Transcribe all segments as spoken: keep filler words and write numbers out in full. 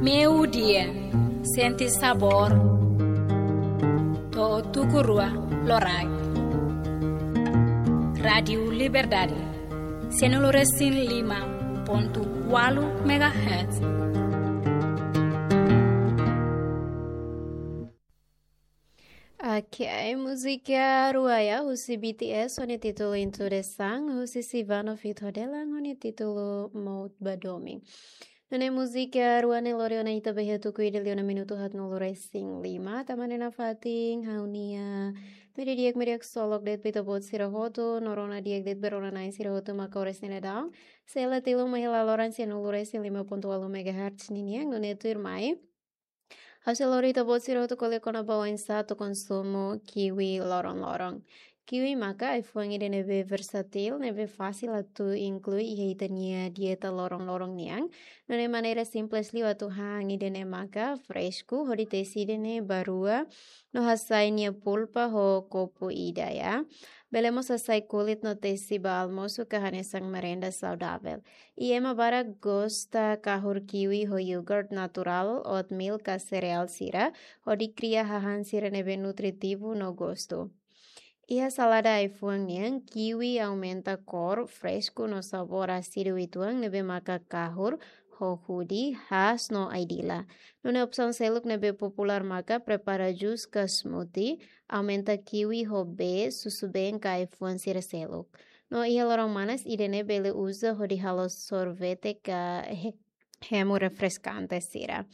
Meiudia, sente sabór. To'o tuku rua loraik. Rádiu Liberdade, sianulu resin lima pontu ualu megahertz. Oke, múzika rua ya, husi B T S ho nia títulu Into the Sun, husi Sivano feat Hodelan ho nia títulu Mout ba Domin. Nune'e múzika rua ne'e lori ona ita ba iha tuku ida liu ona minutu haatnulu resin lima, tanba ne'e nafatin ha'u-nia meiudia di'ak, meiudia di'ak ksolok de'it ba ita-boot sira hotu, no rona di'ak de'it ba rona-na'in sira hotu mak oras ne'e daudaun sei la tilun mai hela loron sianulu resin lima pontu ualu megahertz ninian, nune'e tuirmai ha'u sei lori ita-boot sira hotu ko'alia kona-ba oinsá atu konsumu kiwi loron-loron. Kiwi maka ai-fuan ida ne'ebé versátil, ne'ebé fasil atu inklui iha ita-nia dieta loron-loron nian. Nune'e maneira simples liu atu han ida-ne'e maka fresku, hodi tesi ida-ne'e ba rua, no hasai nia pulpa ho kopu ida ya. Bele mós hasai kulit no tesi ba almosu ka hanesan merenda saudavel. I ema barak gosta kahur kiwi ho yogurt naturál, oatmeal ka sereál sira, hodi kria hahán sira ne'ebé nutritivu no gostu. Iha salada ai-fuan nian, kiwi aumenta kór, fresku no sabór ásidu uitoan ne'ebé maka kahur, hohudi, haas no ai-dila. Nune'e opsaun seluk ne'ebé populár maka prepara jus ka smoothie, aumenta kiwi ho bee, susubeen ka ai-fuan sira seluk. No iha loron manas ida-ne'e bele uza hodi halo sorvete ka he-, hemu refreskante sira.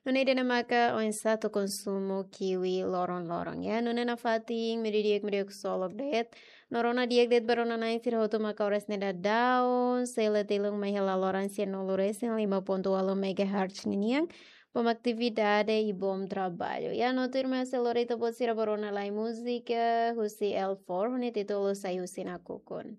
Nune'e ida-ne'e maka oinsá atu konsumu kiwi loron-loron ya. Nune'e nafatin meiudia di'ak, meiudia di'ak ksolok de'it. No rona di'ak de'it ba rona-na'in sira hotu mak oras ne'e daudaun sei la tilun mai hela loron sianulu resin lima pontu ualu megahertz ninian. Bom atividade i bom traballu. Ya, no tuirmai sei lori ita-boot sira ba rona lai múzika husi L four, ho nia títulu Sai Husi Nakukun.